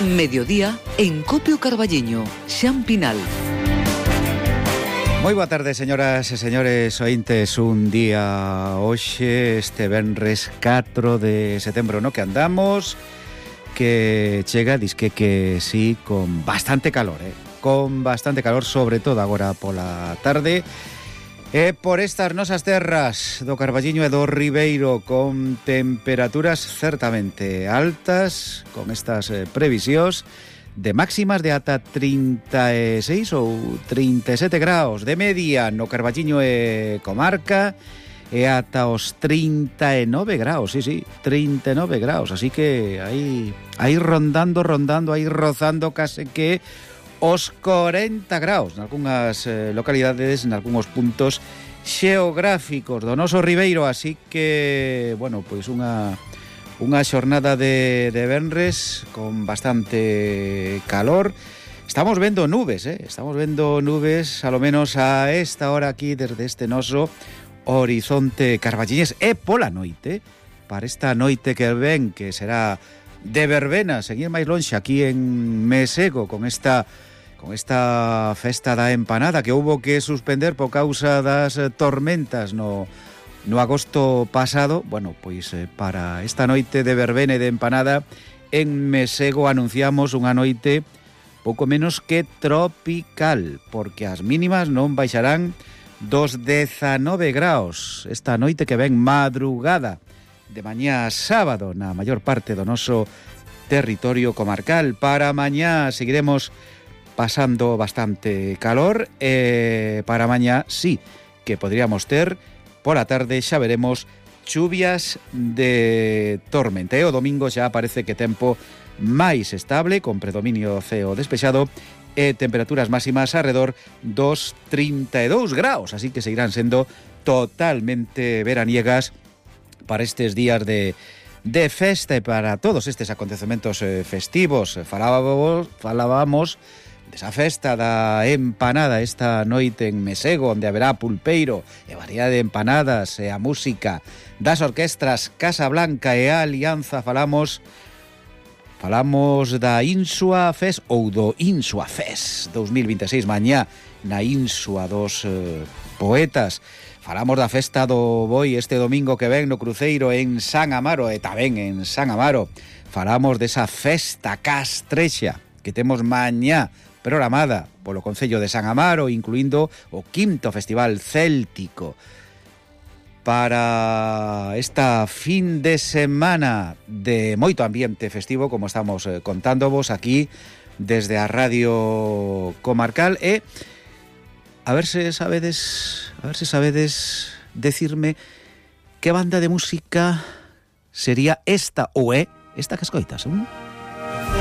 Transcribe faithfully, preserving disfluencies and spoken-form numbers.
Mediodía en Copio Carballiño, Xan Pinal. Moi boa tarde, señoras e señores ointes. Un día hoxe, este venres catro de setembro, no que andamos, que chega, disque que sí, con bastante calor, eh? con bastante calor, sobre todo agora pola tarde. E por estas nosas terras do Carballiño e do Ribeiro, con temperaturas certamente altas, con estas eh, previsións de máximas de ata trinta e seis ou trinta e sete graus, de media no Carballiño e comarca, e ata os trinta e nove graus, sí, sí, trinta e nove graus, así que aí, aí rondando, rondando, aí rozando case que os corenta graus nalgúnas eh, localidades, nalgúns puntos xeográficos do noso Ribeiro, así que, bueno, pois unha unha xornada de, de venres con bastante calor. Estamos vendo nubes, eh? estamos vendo nubes, a lo menos a esta hora aquí, desde este noso horizonte carballiñés, e pola noite, para esta noite que ven, que será de verbena, seguir máis lonxe aquí en Mesego, con esta con esta festa da empanada que houbo que suspender por causa das tormentas no, no agosto pasado. Bueno, pois eh, para esta noite de verbena e de empanada en Mesego anunciamos unha noite pouco menos que tropical, porque as mínimas non baixarán dos dezanove graus esta noite que ven, madrugada de mañá sábado na maior parte do noso territorio comarcal. Para mañá seguiremos pasando bastante calor, e para mañá sí que podríamos ter pola tarde, xa veremos, chuvias de tormenta. E o domingo xa parece que tempo máis estable, con predominio ceo despexado e temperaturas máximas arredor dos trinta e dous graus, así que seguirán sendo totalmente veraniegas para estes días de de festa e para todos estes acontecementos eh, festivos. Falábamos, falábamos desa festa da empanada esta noite en Mesego, onde haberá pulpeiro e variedade de empanadas, e a música das orquestras Casa Blanca e a Alianza. Falamos falamos da Insua Fest ou do Insua Fest dos mil vinte e seis, mañá na Insua dos eh, poetas. Falamos da festa do Boi este domingo que ven no cruceiro en San Amaro, e tamén en San Amaro. Falamos desa festa castrexa que temos mañá programada polo Concello de San Amaro, incluindo o quinto Festival Céltico. Para esta fin de semana de moito ambiente festivo, como estamos eh, contándovos aquí desde a Radio Comarcal, e a ver se sabedes, a ver se sabedes decirme que banda de música sería esta ou é esta que escoitas, ¿eh?